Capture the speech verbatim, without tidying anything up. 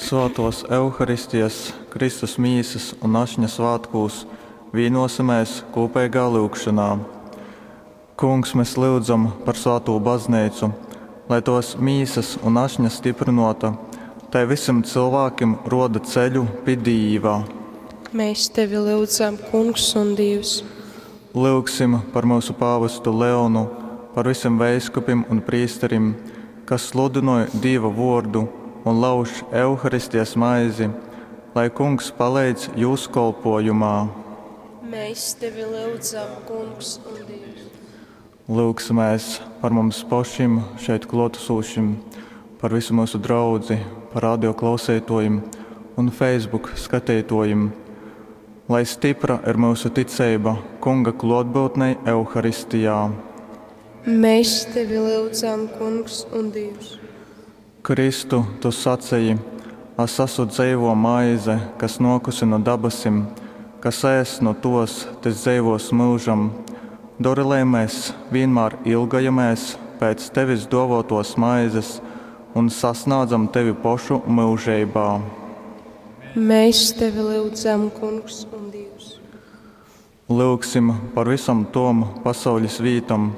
Svātōs Euharistijas, Kristus Mīsas un Ašņa svātkūs vīnōsimēs kūpeigā lyugšonā. Kungs, mes lyudzam par svātū Bazneicu, lai tōs Mīsas un Ašņa styprynōta, tai vysim cylvākim rōda ceļu pi Dīva. Mēs tevi lyudzam, Kungs un Dīvs. Lyugsim par myusu pāvestu Leonu, par vysim veiskupim un prīsterim, kas sludynoj Dīva vōrdu un lauž Euharistijas maizi, lai Kungs paleidz jūs kolpōjumā. Mēs tevi lyudzam, Kungs un Dīvs. Lyugsimēs par mums pošim šeit klōtasūšim, par visu myusu draudzi, par radio klauseitōjim un Facebook skateitōjim, lai stypra ir myusu ticeiba Kunga klōtbyutnei Euharistijā. Mēs tevi lyudzam, Kungs un Dīvs. Kristu, tu saceji, As asu dzeivō maize, kas nōkusi nu dabasim, kas ēss nu tōs, tys dzeivōs myužam. Dori, lai mes vīnmār ilgojamēs pēc tevis dōvōtōs maizes un sasnādzam tevi pošu myužeibā. Mēs tevi lyudzam, Kungs un Dīvs. Lyugsim par vysom tom pasauļis vītom,